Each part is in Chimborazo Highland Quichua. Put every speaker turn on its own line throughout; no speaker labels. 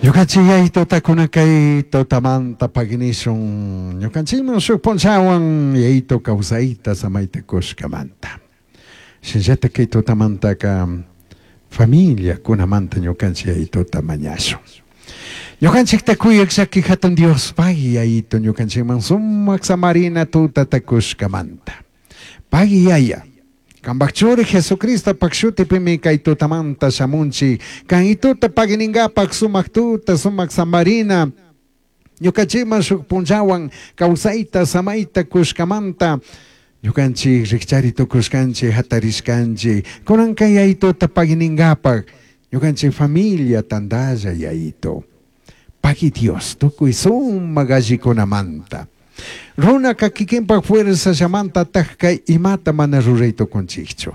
Ñukanchik Yayituta kunan kay tutamanta paginishun ñukanchikman shuk punchawan Yayitu kawsayta samayta kushkamanta. Shinallatak kay tutamantaka familiakunamanta ñukanchik Yayituta mañashun. Ñukanchikta kuyak llaki hatun Diospaq Yayitu ñukanchikman sumak samarina tutata kushkamanta. Pagui Yaya, Cambaj churi Jesucristopak shutipimi kay tutamanta shamunchik. Kan ituta paginingapak sumak tuta, sumak samarina. Ñukanchikman shuk punllawan kawsayta, samayta kushkamanta. Ñukanchik rikchari tukushkanchik, hatarishkanchik. Kunanka Yayituta paginingapak ñukanchik familia tandalla Yayitu. Pagui Dios, tukuy sumak allikunamanta. Runaka kikinpak fuerzallamanta kay imata mana ruray tukunchikchu.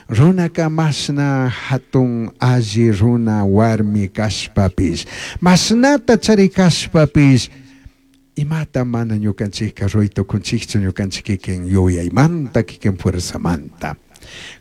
Runaka mashna hatun alli runa warmi kashpapish, mashnata chari kashpapish, imata mana ñukanchikka ruray tukunchikchu ñukanchik kikin yuyaymanta, kikin fuerzamanta.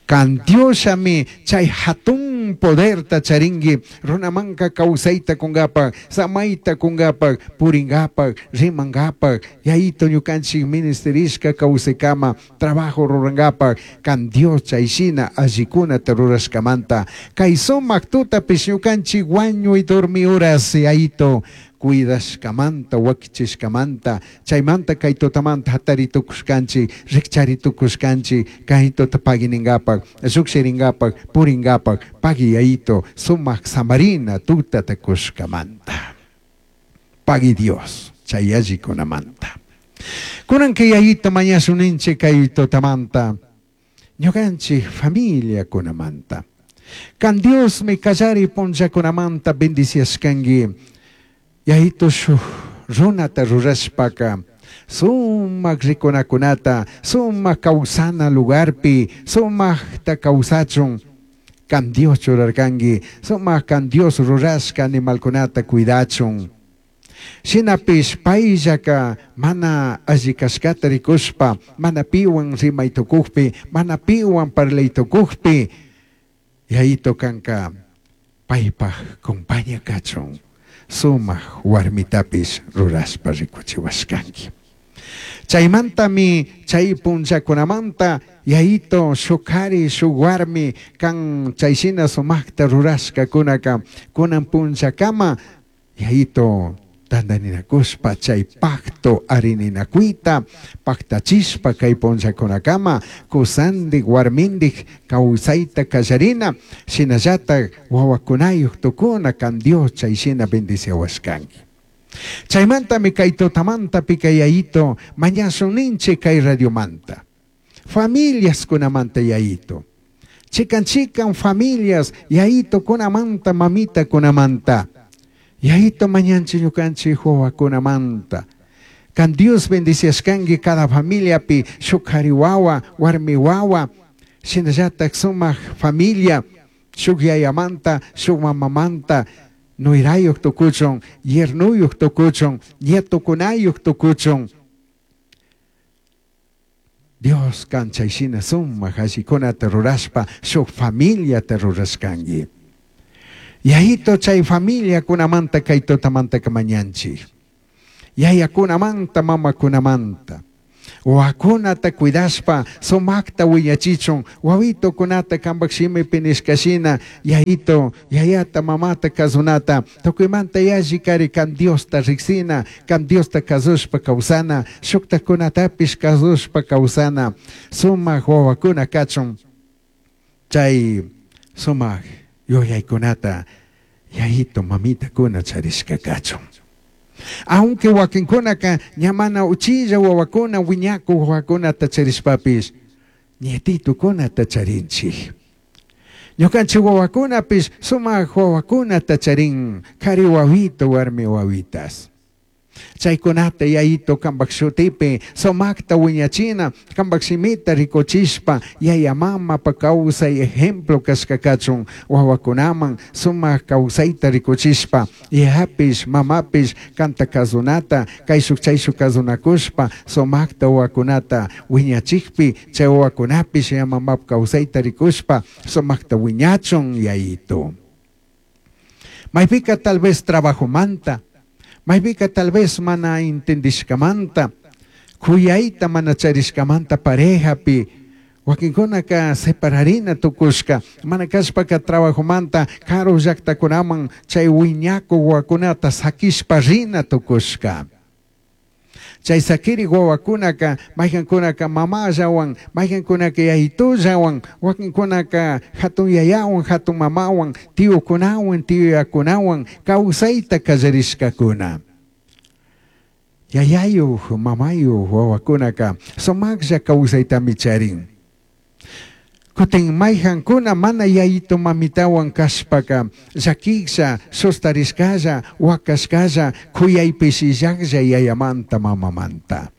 Kan Diosllami chay hatun poderta charinki runamanka kawsayta kunkapak, samayta kunkapak, purinkapak, rimankapak, Yayito ñukanchik ministerishka kawsaykama trabajo rurankapak, kan Dios chayshina allikunata rurashkamanta. Kay sumak tutapish ñukanchik wañuy dormi horas Yayito cuidashkamanta, wakichishkamanta, chaymanta kay tutamanta hatari tukushkanchik, rikchari tukushkanchik, kay tuta pagininkapak, llukshirinkapak, purinkapak, pagui Yayito sumak samarina tutata kushkamanta. Pagui Dios chay allikunamanta. Kunanka Yayito mañashuninchik kay tutamanta, ñukanchik familiakunamanta. Kan Diosmi kallari punllakunamanta bendiciashkanki. Yayito shuk runata rurashpaka sumak rikunakunata, sumak kawsana lugarpi, sumakta kawsachun kan Dios churarkanki, sumak kan Dios rurashka animalkunata cuidachun. Shinapish payllaka mana alli kashkata rikushpa, mana piwan rimay tukukpi, mana piwan parlay tukukpi, Yayito kanka paypaj compaña kachun, sumak warmitapish rurashpa rikuchiwashkanki. Chaymantami chay punllakunamanta Yayito shuk kari shuk warmi kan chayshina sumakta rurashkakunaka kunan punllakama Yayito tantaninakushpa chay pacto arininakuyta pactachishpa kay punllakunakama kusandik warmindik kawsayta kallarina, shinallatak wawakunayuk tukuna kan Dios chayshina bendiciawashkanki. Chaymantami kay tutamanta pika Yayito mañashun ninchik kay radiomanta, familias kunamanta Yayito, chikan chikan familias Yayito kunamanta, mamita kunamanta, Yayito mañanchik ñukanchik wawakunamanta. Kan Dios bendiciashkanki cada familiapi shuk kari wawa, warmi wawa, shinallatak sumak familia, shuk yayamanta, shuk mamamanta, nuyrayuk tukuchun, yernuyuk tukuchun, nietokunayuk tukuchun. Dios kan chayshina sumak allikunata rurashpa shuk familiata rurashkanki. Yayito chay familiakunamanta kay tutamanta mañanchik. Yayakunamanta, mamakunamanta. Wawakunata cuidashpa sumakta wiñachichun, wawitukunata kanpak shimipi nishkashina, Yayito, yayata, mamata kasunata, tukuymanta yalli kari kan Diosta riksina, kan Diosta kasushpa kawsana, shuktakunatapish kasushpa kawsana, sumak wawakuna kachun, chay sumak yuyaykunata Yayito, mamitakuna charishka kachun. Aunque wakinkunaka ña mana uchilla wawakuna wiñaku wawakunata charishpapish, nietitukunata charinchik. Ñukanchik wawakunapish sumak wawakunata charin, kari wawito, warmi wawitas. Chaykunata Yayito kanpak shutipi sumakta wiñachina, kanpak shimita rikuchishpa, yaya mamapa kawsay ejemplo kashka kachun, wawakunaman sumak kawsayta rikuchishpa, yayapish mamapish kanta kasunata, kayshuk chayshuk kasunakushpa, sumakta wawakunata wiñachikpi, chay wawakunapish yaya mamapa kawsayta rikushpa, sumakta wiñachun Yayito. Maypica tal vez trabajomanta, maypica tal vez mana entendishcamanta, cuyaita mana charishcamanta parejapi, wakinkunaka separarina tukushka, mana kashpaka trabajomanta karu llaktakunaman chay wiñaku wawakunata sakishpa rina tukushka. Chay sakiri wawakunaka mayqankunaka mamallawan, mayqankunaka yayitullawan, wakinkunaka hatun yayawan, hatun mamawan, tiyukunawan, tiyuyakunawan kawsayta kallarishkakuna. Yayayuq, mamayuq wawakunaka sumaqlla kawsaytami charin. Kutin mayqankuna mana yayitu mamitawan kashpaka llakishlla, sustarishkalla, wakashkalla, kuyaypishillaqlla yayamanta mamamanta.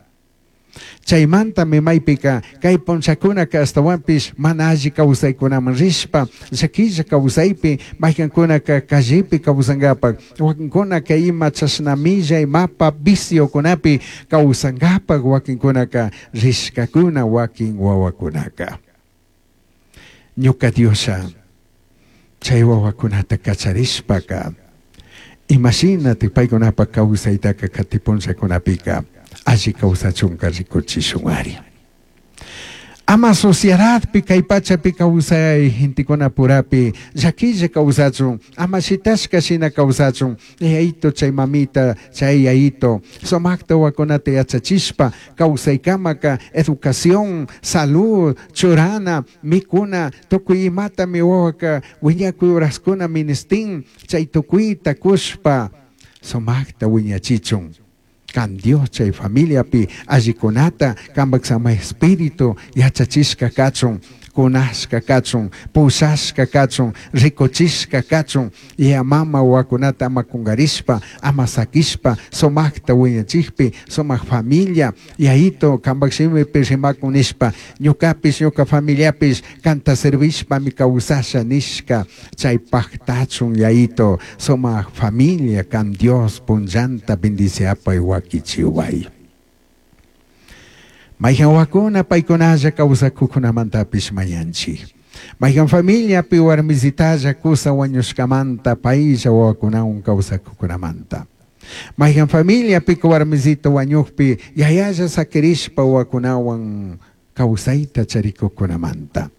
Chaymantami maypika kay punchakunaka ashtawanpish mana alli kawsaykunaman rishpa llakilla kawsaypi mayqankunaka callepi kawsankapak, wakinkunaka ima chashna millay mapa viciokunapi kawsankapak wakinkunaka rishkakuna wakin wawakunaka. Ñuka Diosha chay wawakunata kacharishpaka imashinatik paykunapak kawsaytaka kati punllakunapika alli kawsachunka rikuchishunari. Ama sociedadpi kay pachapi kawsay gentekunapurapi llakilla kawsachun, ama shitashka shina kawsachun, yayito chay mamita, chay yayito, sumakta wawakunata yachachishpa kawsaykamaka educación, salud, churana, mikuna, tukuy imatami wawaka wiñakuy horaskuna ministin, chay tukuyta kushpa sumakta wiñachichun. Kan Dios chay familiapi allikunata kanpak sama espíritu yachachishka kachun, kunashka kachun, pushashka kachun, rikuchishka kachun, yaya mama wawakunata ama kunkarishpa, ama sakishpa, sumakta wiñachikpi, sumak familia, yayito kanpak shimipi rimakun nishpa, ñukapish, ñuka familiapish kanta servishpami kawsasha nishka, chay paktachun yayito, sumak familia kan Dios punllanta bendiciapay wakichiway. Mayqan wawakuna paykunalla kawsakuqkunamantapish mañanchik. Mayqan familiapi warmisitalla kusa wañushkamanta paylla wawakunawan kawsakuqkunamanta. Mayqan familiapi warmisita wañuqpi yayalla sakirishpa wawakunawan kawsayta charikuqkunamanta.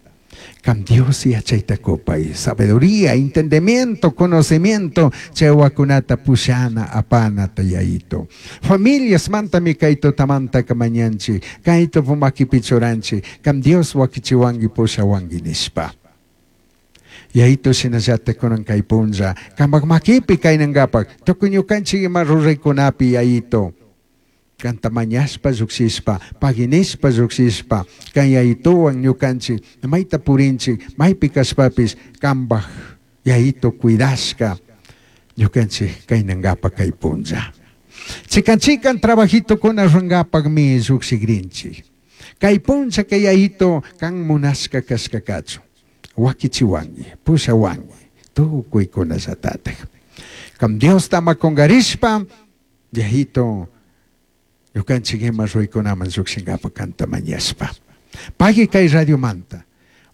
Kan Dios yachayta kupay, sabiduría, entendimiento, conocimiento, chay wawakunata pushana, apanata yayito. Familias mantami kay tutamanta mañanchik, kay makipi churanchik, kan Dios wakichiwanki pushawanki nishpa. Yayito shinallata kunan kay punlla, kanpak makipi kaynankapak, tukuy ñukanchik ima ruraykunapi yayito. Kanta mañashpa llukshishpa, paginishpa llukshishpa, kan yayituwan ñukanchik, mayta purinchik, maypi kashpapish, kanpak yayito cuidashka, ñukanchik kaynankapak kay punlla. Chikan chikan trabajitokuna rurankapakmi llukshikrinchik. Kay punlla kay yayito kan munashka kashka kachun. Wakichiwanki, pushawanki, tukuykunallatatak. Kan Diosta ama kunkarishpa, yayito ñukanchik ima ruraykunaman llukshinkapak kanta mañashpa. Pagui kay radiomanta.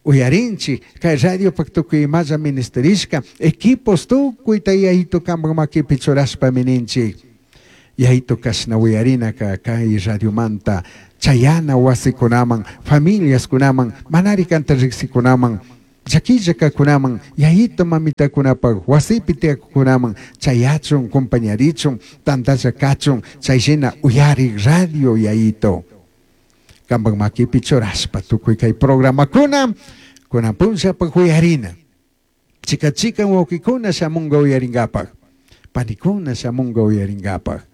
Uyarinchik kay radiopak tukuy imalla ministerishka, equipos tukuyta yayito kanpak makipi churashpa mininchik. Yayito kashna uyarinaka kay radiomanta chayana wasikunaman, familiaskunaman, manari kanta riksikunaman, llakilla kakunaman, yayito mamitakunapak wasipi tiyakukunaman, chayachun, compañarichun, tantalla kachun, chayshina uyarik radio yayito. Kanpak makipi churashpa tukuy kay programakuna, kunan punllapak uyarina. Chika chikan wawkikuna shamunka uyarinkapak, panikuna shamunka uyarinkapak.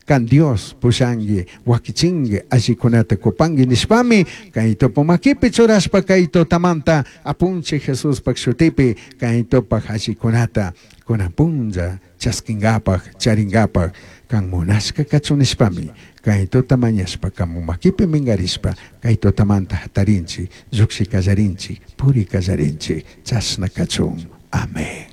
Kan Dios pushanki, wakichinki, allikunata kupanki nishpami, kay topo makipi churashpa kay tutamanta apunchik Jesuspak shutipi kay topak allikunata kunan punlla chaskinkapak, charinkapak, kan munashka kachun nishpami, kay tuta mañashpa, kan makipi minkarishpa, kay tutamanta hatarinchik, llukshi kallarinchik, puri kallarinchik, chashna kachun. Amén.